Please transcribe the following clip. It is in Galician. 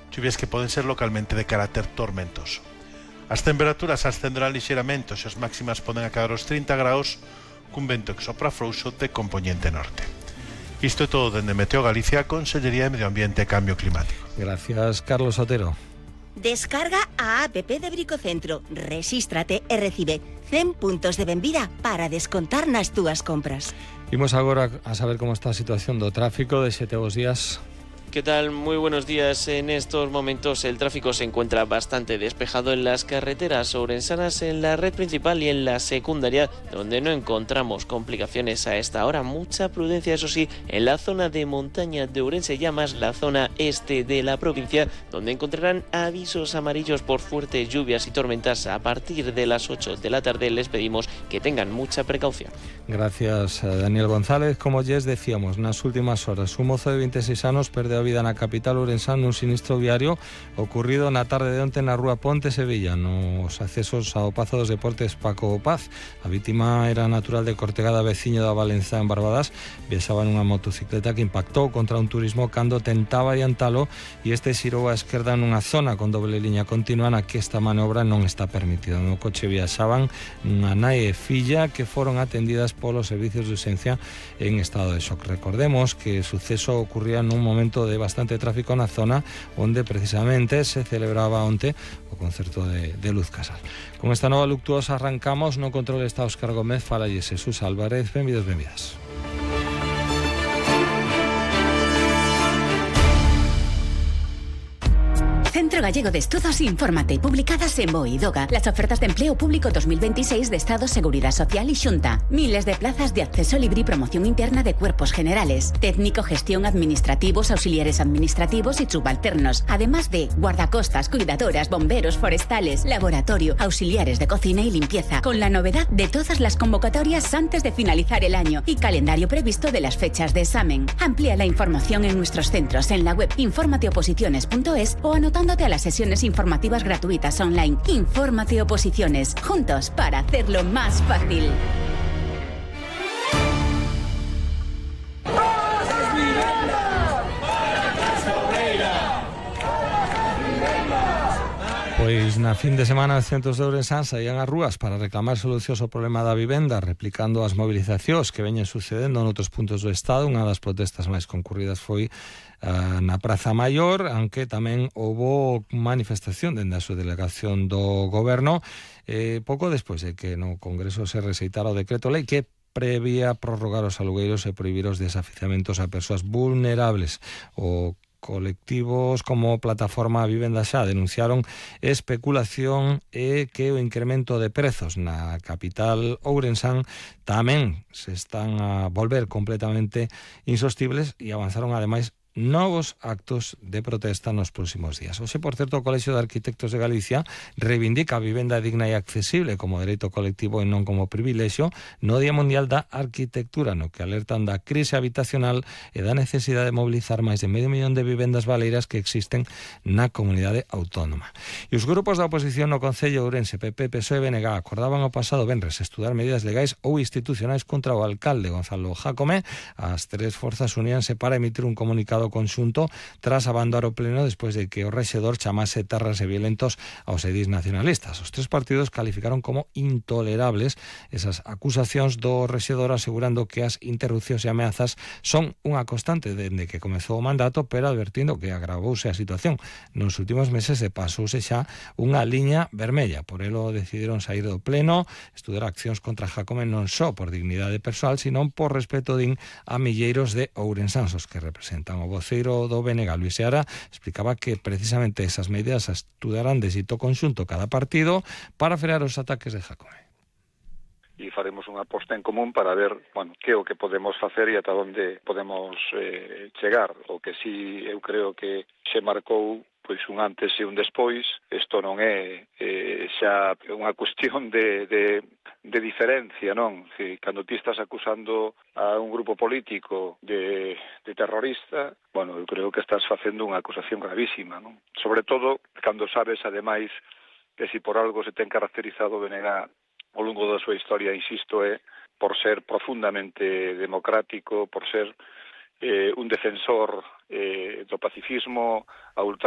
chuvias que poden ser localmente de carácter tormentoso. As temperaturas ascenderán lixeiramente, as máximas poden acadar os 30 graus, cun vento que sopra frouxo de compoñente norte. Isto é todo dende Meteo Galicia, Consellería de Medio Ambiente e Cambio Climático. Gracias, Carlos Otero. Descarga a app de Bricocentro, rexístrate e recibe 100 puntos de benvida para descontar nas túas compras. Imos agora a saber como está a situación do tráfico de Xete Bos días. ¿Qué tal? Muy buenos días. En estos momentos el tráfico se encuentra bastante despejado en las carreteras ourensanas, en la red principal y en la secundaria, donde no encontramos complicaciones a esta hora. Mucha prudencia, eso sí, en la zona de montaña de Ourense, ya más la zona este de la provincia, donde encontrarán avisos amarillos por fuertes lluvias y tormentas. A partir de las 8 de la tarde les pedimos que tengan mucha precaución. Gracias, Daniel González. Como ya decíamos, nas últimas horas, un mozo de 26 anos perdeu a vida na capital ourensán nun sinistro viario ocurrido na tarde de onte na rúa Ponte Sevilla, nos accesos ao Pazo dos Deportes Paco Paz. A vítima era natural de Cortegada, veciño da Valenzá en Barbadas. Viaxaba nunha motocicleta que impactou contra un turismo cando tentaba adiantalo e este xirou á esquerda nunha zona con doble liña continua na que esta maniobra non está permitida. No coche viaxaban unha nai e filla que foron atendidas polos servicios de urxencia en estado de shock. Recordemos que o suceso ocurría nun momento de bastante tráfico na zona onde precisamente se celebraba onte o concerto de Luz Casal. Con esta nova luctuosa arrancamos. No control está Óscar Gómez, fala Jesús Álvarez. Benvidos, benvidas. Centro Gallego de Estudos Infórmate, publicadas en BOE y DOGA, las ofertas de empleo público 2026 de Estado, Seguridad Social y Xunta. Miles de plazas de acceso libre y promoción interna de cuerpos generales, técnico, gestión, administrativos, auxiliares administrativos y subalternos, además de guardacostas, cuidadoras, bomberos, forestales, laboratorio, auxiliares de cocina y limpieza, con la novedad de todas las convocatorias antes de finalizar el año y calendario previsto de las fechas de examen. Amplía la información en nuestros centros en la web informateoposiciones.es o anotándote a las sesiones informativas gratuitas online. Infórmate Oposiciones, juntos para hacerlo más fácil. Pois na fin de semana os centros de Ourensán saían ás rúas para reclamar solucións ao problema da vivenda, replicando as movilizacións que veñen sucedendo noutros puntos do Estado. Unha das protestas máis concurridas foi na Praza Maior, aunque tamén houbo manifestación dende a súa delegación do Goberno pouco despois de que no Congreso se rexeitara o decreto lei que prevía prorrogar os alugueiros e prohibir os desafiuzamentos a persoas vulnerables. O colectivos como Plataforma Vivenda Xa denunciaron especulación e que o incremento de prezos na capital ourensán tamén se están a volver completamente insostibles e avanzaron ademais novos actos de protesta nos próximos días. Hoxe, por certo, o Colexio de Arquitectos de Galicia reivindica a vivenda digna e accesible como dereito colectivo e non como privilexio no Día Mundial da Arquitectura, no que alertan da crise habitacional e da necesidade de mobilizar máis de 500.000 de vivendas baleiras que existen na comunidade autónoma. E os grupos da oposición no Concello de Ourense, PP, PSOE e BNG acordaban o pasado venres estudar medidas legais ou institucionais contra o alcalde Gonzalo Jácome. As tres forzas uníanse para emitir un comunicado conxunto tras abandonar o pleno despois de que o rexedor chamase terras e violentos aos edís nacionalistas. Os tres partidos calificaron como intolerables esas acusacións do rexedor, asegurando que as interrupcións e ameazas son unha constante dende que comezou o mandato, pero advertindo que agravouse a situación nos últimos meses e pasouse xa unha liña vermella. Por elo decidiron sair do pleno, estudar accións contra Jácome non só por dignidade persoal, sino por respeto din a milleiros de ourensáns que representan. O voceiro do BNG, Luis Seara, explicaba que precisamente esas medidas estudarán de xeito conxunto cada partido para frear os ataques de Jácome. E faremos unha aposta en común para ver, que é o que podemos facer e ata onde podemos chegar. O que si eu creo que se marcou pois un antes e un despois. Isto non é xa unha cuestión de diferencia, non? Cando ti estás acusando a un grupo político de terrorista, eu creo que estás facendo unha acusación gravísima, non? Sobre todo cando sabes, ademais, que si por algo se ten caracterizado o BNG ao longo da súa historia, insisto, é por ser profundamente democrático, por ser un defensor do pacifismo a ultranza.